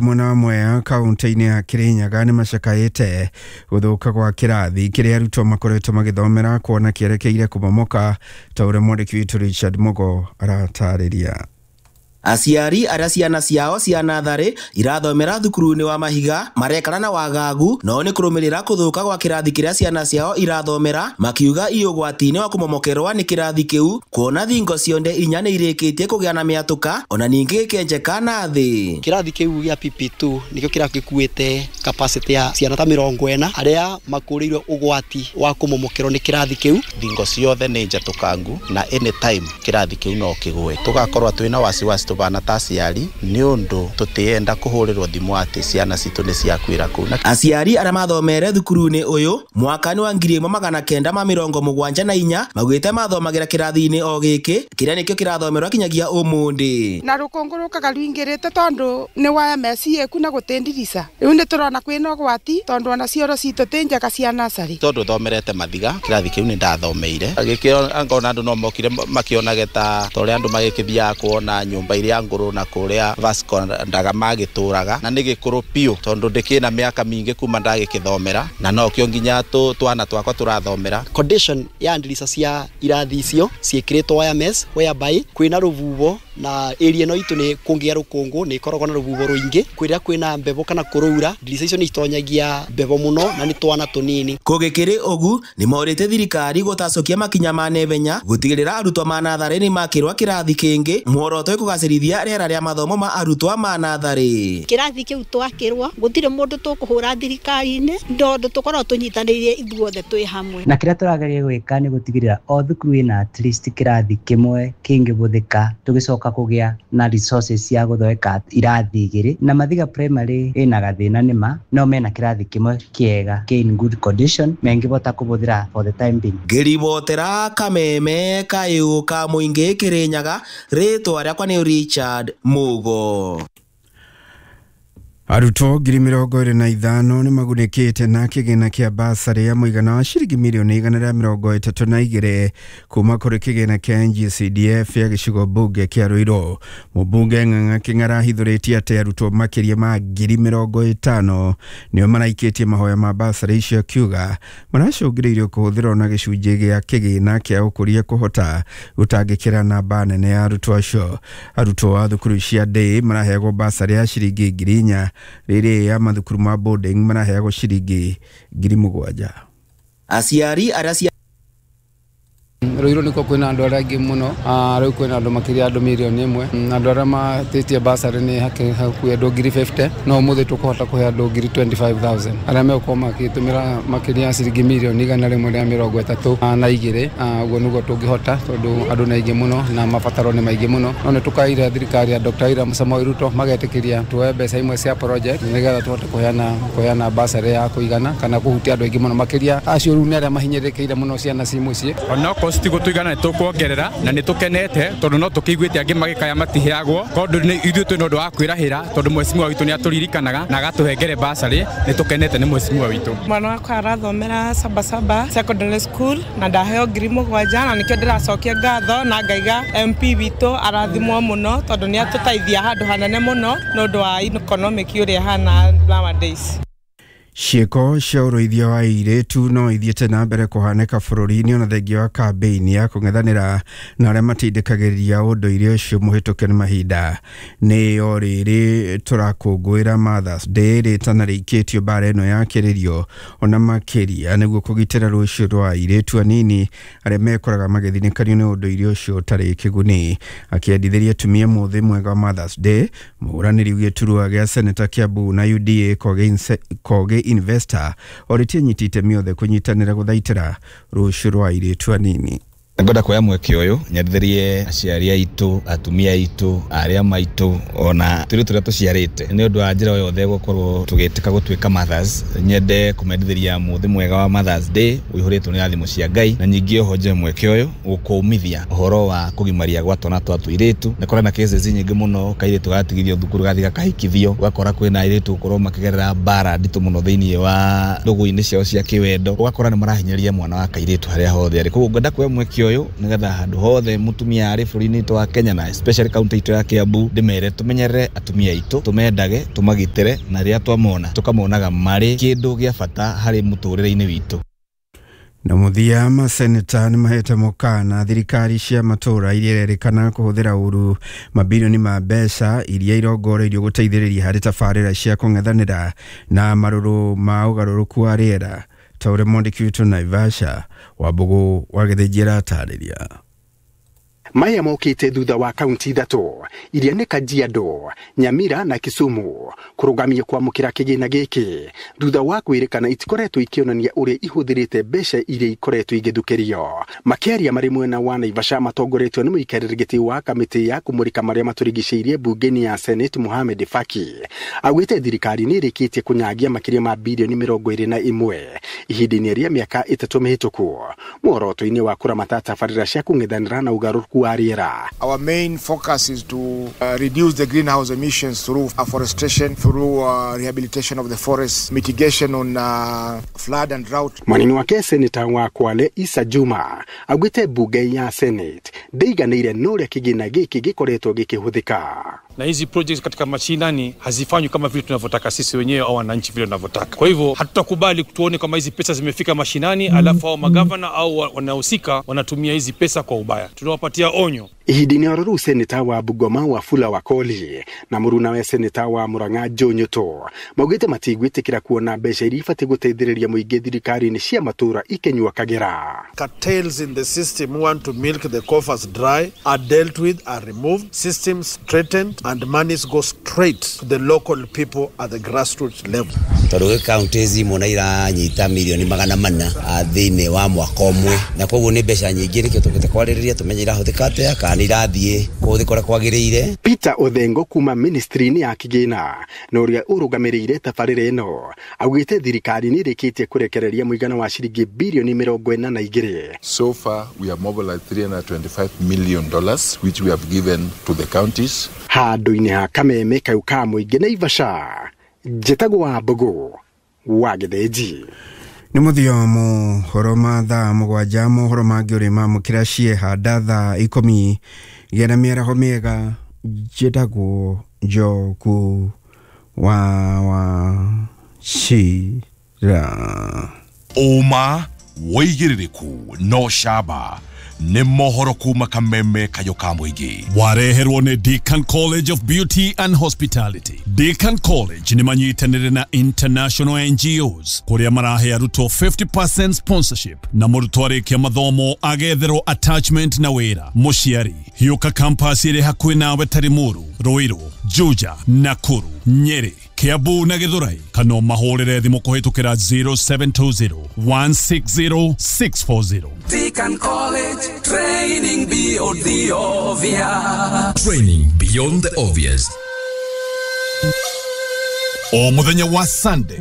Mwena wa Mwea kaunti-inĩ ya Kirinyaga nĩ macakaĩte gũthũka gwa kĩrathi kĩrĩa arutwo makoretwo magĩthomera kuona kĩerekeire kũmomoka ta ũrĩa mwandĩki witũ Richard Mugo aratarĩria. Aciari arĩa ciana ciao cia natharĩ irathomera thukuru-inĩ wa Mahiga marekana na wagagu no nĩ kũrũmĩrĩra kũthũka gwa kĩrathi kĩrĩa ciana ciao irathomera, makiuga i ũgwati-inĩ wa kũmomokerwa nĩ kĩrathi kĩu kuona thingo cionde inya nĩ irĩkĩtie kũgĩa na mĩatũka ona ningĩ gĩkenjeka na thĩ. Kĩrathi kĩu gĩa PP2 nĩkĩo kĩrathi gĩkuĩte capacity ya ciana ta 40 arĩa makũrĩirwo ũgwati wa kũmomokerwo nĩ kĩrathi kĩu. Thingo ciothe nĩ njatũkangu na anytime kĩrathi kĩu no kĩgũe. Tũgakorwo twĩna wasiwasi tũbana ta aciari nĩ ũndũ tũtienda kũhũrĩrwo thimũ atĩ ciana citũ nĩ ciakuĩra kũu. Aciari arĩa mathomere thukuru-inĩ ũyũ mwaka-inĩ wa 1974 maugĩte mathomagĩra kĩrathi-inĩ o gĩkĩ kĩrĩa nĩkĩo kĩrathomerwo kinyagia ũmũthĩ. Na rũkũngũ rũkaga rũingĩrĩte tondũ nĩ wa MSc ku na gũtĩndirica rĩu nĩ tũrona kwĩna ũgwati tondũ ona cioro citũ ti njega cia nursery. Tondũ thomerete Mathiga kĩrathi kĩu nĩ ndathomeire gĩkĩo ngona andũ no mokire makĩonage ta ũrĩa andũ magĩkĩthiaga kuona nyũmba iria ngũrũ na kũrĩa Vasco ndaga magĩtũraga na nĩ gĩkũrũ biũ tondũ ndĩkĩna mĩaka mĩingĩ kuma ndagĩkĩthomera na nokĩo nginya twana twakwa tũrathomera. Condition ya ndirica cia irathi icio ciĩkĩrĩtwo wire mesh whereby kwĩna rũhuho na area ĩno itũ nĩ kũngĩa rũkũngũ nĩ ĩkoragwo na rũhuho rũingĩ kwĩrĩa kwĩna mbebo kana kũrũura ndirica icio nĩ itonyagia mbebo mũno na nĩ twana tũnini. Kũgĩkĩrĩ ũgu nĩ morĩte thirikari gũtacũkia makinya ma naihenya gũtigĩrĩra arutwo ma natharĩ nĩ makĩrwa kĩrathi kĩngĩ muoroto wĩ kũgacĩrithia rĩera rĩa mathomo ma arutwo ma natharĩ. Kĩrathi kĩu twakĩrwo gũtirĩ mũndũ tũkũhũra thirikari-inĩ tondũ tũkoragwo tũnyitanĩire ithuothe twĩ hamwe. Na kĩrĩa tũrageria gwĩka nĩ gũtigĩrĩra o thukuru ĩna at least kĩrathi kĩmwe kĩngĩbũthĩka tũgĩcoka kũgĩa na resources cia gũthondeka irathi igĩrĩ. Na Mathiga Primary ĩna gathĩna nĩma no mena kĩrathi kĩmwe kĩega kĩ in good condition mengĩbota kũbũthĩra for the time being. Ngĩribotera Kameme kayũ ka mũingĩ Kĩrĩnyaga, rĩtwa rĩakwa nĩ Richard Mugo. Arutwo 25,000 nĩ magunĩkĩte na kĩgĩna kĩa basarĩ ya mũigana wa ciringi mirioni 132 kuma kũrĩ kĩgĩna kĩa NGCDF ya gĩcigo mbunge kĩa Ruiru. Mũmbunge Ng'ang'a Kĩng'ara ahithũrĩtie atĩ arutwo makĩria ma 50,000 nĩo maraikĩtie mahoya ma basarĩ icio, akiuga maracũngĩrĩirio kũhũthĩrwo na gĩcunjĩ gĩa kĩgĩna kĩa ũkũria kũhota gũtangĩkĩra namba nene ya arutwo acio. Arutwo a thukuru cia day maraheagwo basarĩ ya ciringi 4,000 rĩrĩ ya mathukuru ma boarding maraheagwo ciringi 7,000. Aciari arĩa Ruiru nĩkuo kwĩna andũ arĩa aingĩ mũno, rĩu kwĩna andũ makĩria andũ mirioni 1. Andũ arĩa matĩtie basarĩ nĩ hakuhĩ andũ 50,000, no ũmũthĩ tũkũhota kũhe andũ 25,000 arĩa megũkorwo makĩtũmĩra makĩria ya ciringi mirioni 132. Ũguo nĩguo tũngĩhota tondũ andũ nĩ aingĩ mũno na mabataro nĩ maingĩ mũno, no nĩ tũkaire thirikari ya Dr. William Samoei Ruto magetĩkĩria tuoe mbeca imwe cia project nĩgetha tũhote kũheana basarĩ ya kũigana kana kũhutia andũ aingĩ mũno makĩria acio rĩu nĩ arĩa mahinyĩrĩrĩkĩire mũno ciana ci mũciĩ. Onokorwo citigũtũigana nĩ tũkuongerera na nĩ tũkenete tondũ no tũkĩiguĩte angĩ magĩkaya matiheagwo tondũ ithuĩ twĩna ũndũ wa kwĩrahĩra tondũ mheshimiwa witũ nĩ atũririkanaga na agatũhengere basarĩ. Nĩ tũkenete nĩ mheshimiwa witũ. Mwana wakwa arathomera Sabasaba Secondary School na ndaheo 7,000 na nĩkĩo ndĩracokia ngatho na ngaiga MP witũ arathimwo mũno tondũ nĩ atũteithia handũ hanene mũno nĩ ũndũ wa economic ũrĩa ĩhana nowadays. Ciĩko cia ũrũithia wa airĩtu no ithiĩte na mbere kũhanĩka bũrũri-inĩ ona thengia wa kambĩini ya kũng'ethanĩra na arĩa matindĩkagĩrĩria ũndũire ũcio mũhĩtũke nĩ mahinda. Nĩ o rĩrĩ tũrakũngũĩra Mother's Day rĩtana rĩikĩtio mbara ĩno yakĩrĩrio ona makĩria nĩguo kũgitĩra rũciũ rwa airĩtu anini arĩa mekoraga magĩthinĩkanio nĩ ũndũire ũcio ũtarĩ kĩguni. Akĩendithĩria atumia mũthĩ mwega wa Mother's Day, mũhũranĩri gĩturwa gĩa seneta Kiambu na UDA Kogi Investor orĩtie nyiti itemi othe kũnyitanĩra gũthaitĩra rũciũ rwa airĩtu anini. Ngwenda kuoya mweke ũyũ nyendithĩrie aciari aitũ, atumia aitũ, arĩa maitũ ona tũirĩtu tũrĩa tũciarĩte nĩ ũndũ wa njĩra o yothe gũkorwo tũgĩtĩka gũtuĩka mothers. Nyende kũmendithĩria mũthĩ mwega wa Mother's Day ũihũrĩtwo nĩ rathimo cia Ngai, na ningĩ oho njoe mweke ũyũ gũkũmithia ũhoro wa kũgimaria gwa twana twa tũirĩtu. Nĩ kũrĩ na cases nyingĩ mũno, kairĩtu gatigithio thukuru gathiĩ gakahikithio, ũgakora kwĩna airĩtu gũkorwo makĩgerera mbara nditũ mũno thĩinĩ wa ndũgũ-inĩ ciao cia kĩwendo, ũgakora nĩ marahinyĩrĩria mwana wa kairĩtu harĩa hothe arĩ. Koguo ngwenda kuoya mweke ũyũ nĩgetha handũ hothe mũtumia arĩ bũrũri-inĩ witũ wa Kenya na especially kaunti itũ ya Kiambu ndĩmere tũmenyerere atumia aitũ, tũmendage, tũmagitĩre, na rĩrĩa twamona tũkamonaga marĩ kĩndũ gĩa bata harĩ mũtũrĩre-inĩ witũ. Na mũthia, maseneta nĩ mahete mũkana thirikari cia matũra iria irerĩkana kũhũthĩra ũru mabilioni ma mbeca iria irongoreirio gũteithĩrĩria harĩ tabarĩra cia kũng'ethanĩra na marũrũ ma ũgarũrũku wa rĩera, ta ũrĩa mwandĩki witũ Naivasha Wambũgũ wa Gĩthĩnji aratarĩria. Maya mokĩte thutha wa kaunti ithatũ iria nĩ Kajiado, Nyamira na Kisumu kũrũgamia kwamũkĩra kĩgĩna gĩkĩ thutha wa kwĩrĩkana itikoretwo ikĩonania ũrĩa ihũthĩrĩte mbeca iria ikoretwo igĩthukĩrio. Makĩaria marĩ mwena wa Naivasha matongoretio nĩ mũikarĩri gĩtĩ wa kamĩtĩ ya kũmũrĩka marĩa matũrigicĩirie mbunge-inĩ ya Senate Mohamed Faki augĩte thirikari nĩ ĩrĩkĩtie kũnyagia makĩria ma bilioni 21 ihinda-inĩ rĩa mĩaka 3 mĩhĩtũku muoroto-inĩ wa kũramata tabarĩra cia kũng'ethanĩra na ũgarũrũku wa rĩera. Our main focus is to reduce the greenhouse emissions through afforestation, through rehabilitation of the forest, mitigation on flood and drought. Mwanini wake seneta wa Kwale Issa Juma augĩte mbunge ya Senate ndĩiganĩire na ũrĩa kĩgĩna gĩkĩ gĩkoretwo gĩkĩhũthĩka. Na hizi projects katika mashinani hazifanywi kama vile tunavyotaka sisi wenyewe au wananchi vile tunavyotaka. Kwa hivyo hatutakubali tuone kama hizi pesa zimefika mashinani alafu hao magavana au wanahusika wanatumia hizi pesa kwa ubaya. Tunawapatia onyo. Ihinda-inĩ oro rĩu seneta wa Bungoma Wafula Wakoli na mũrunawe seneta wa Murang'a Joe Nyuto maugĩte matigwĩtĩkĩra kuona mbeca iria ibatiĩ gũteithĩrĩria mũingĩ thirikari-inĩ cia matũũra ikĩnyua kagera. Cartels in the system who want to milk the coffers dry are dealt with, are removed, systems straightened, and monies go straight to the local people at the grassroots level. Tondũ gwĩ counties imwe na iranyita milioni 400 thĩinĩ wa mwaka ũmwe, na koguo nĩ mbeca nyingĩ, nĩkĩo tũkĩte kwarĩrĩria tũmenye irahũthĩka atĩa kana irathiĩ kũhũthĩka ũrĩa kwagĩrĩire. Peter Othengo kuma ministry-inĩ ya kĩgĩna na ũrĩa ũrũgamĩrĩire tabarĩra ĩno augĩte thirikari nĩ ĩrĩkĩtie kũrekereria mũigana wa ciringi bilioni 42. So far we have mobilized $325 million which we have given to the counties. Handũ-inĩ ha kameme kau ka mũingĩ Naivasha, njĩtagwo Wambũgũ wa Gĩthĩnji. Nĩ mũthia mohoro ma thaa 7, mohoro mangĩ ũrĩ mamũkĩra ciehanda thaa 10. Gĩa na mĩaraho mĩega, njĩtagwo Njoku wa Wachira. Ũma wĩigĩrĩrĩku no camba nĩ mohoro kuma kameme kayo ka mũingĩ. Wareherwo nĩ Deacon College of Beauty and Hospitality. Deacon College nĩ manyitanĩire na international NGOs kũrĩa marahe arutwo 50% sponsorship na mũrutwo arĩkia mathomo agetherwo attachment na wĩra. Mũciari hiũka campus ĩrĩ hakuhĩ nawe ta Limuru, Ruiru, Juja, Nakuru, Nyeri, Kiambu na Githurai, kana ũmahũrĩre thimũ kũhĩtũkĩra 0720 160 640. Deacon College, training beyond the obvious. Training beyond the obvious. O mũthenya wa Sunday